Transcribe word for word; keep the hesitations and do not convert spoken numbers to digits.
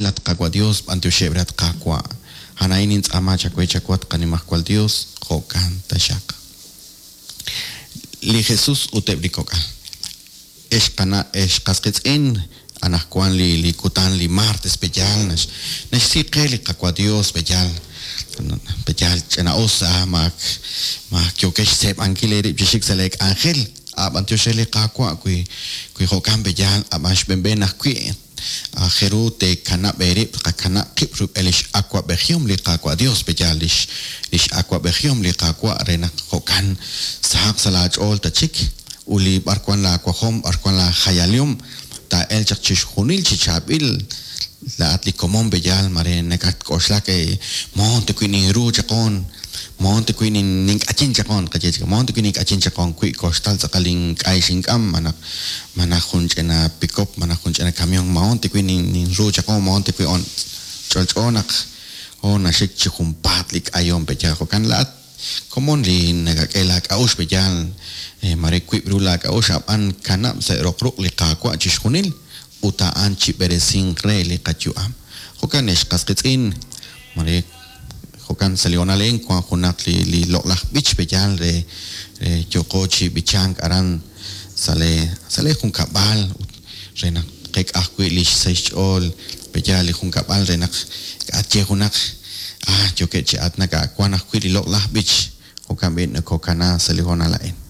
lat Qaawa' Dios, b'antioxeb' rat Qaawa'. A'an nintz'aama chawe chawat qanimajwal Dios, jo'kan taxaq. Li Jesus ut eb' li kok'al. Ex qana' ex qasqitz'in, anaqwan li li kutan li martes peyal nax naxsi qe li Qaawa' Dios peyal peyal ch'ina'us ah maak maak yokex xseeb'ankil eerib' chi xik sa' lee k'anjel ab'an tiox re li Qaawa' wi wi jo'kan peyal ab'an xb'enb'en ajwi' ajeru teekanab' eerib' qakanab' qib' rub'el lix awa'b'ejihom li Qaawa' Dios peyal lix lix awa'b'ejihom li Qaawa' re naq jo'kan sahaq sa' laach'ool tachik ut li b'arwan laawajom b'arwan laajayalihom taa'el chaq chixjunil chi chaab'il laat li komon peyal mare nakatk'oxlak moon te wi ninru chaqon moon te wi nink'achin chaqon qaye chik moon te wi nink'achin chaqon wi koxtal tz'aqal ink'ay xink'am manaq manaq jun ch'ina pick-up manaq jun ch'ina camión moon te wi ninru chaqon moon te wi on ch'olch'o naq o naxik chi junpaat li k'ayom peyal jo'kan laat komon li nakak'e laak'a'ux peyal mare wib' ru laak'a'ux ab'an kanab' sa' roq ruq' li Qaawa' chixjunil ut a'an chib'eresinq re li qayu'am. Jo'kan ex qasqitz'in mare jo'kan sa' li honal a'in wan junaq li li loq'laj b'ich peyal re re yooqo chi b'ichank aran sa' le sa' le junkab'al ut re naq qek'a ajwi' li xsahil xch'ool peyal li junkab'al re naq k'atye junaq ah yookeb' chi aatinak wan ajwi' li loq'laj b'ich jo'kan b'i' nakokana sa' li honal a'in.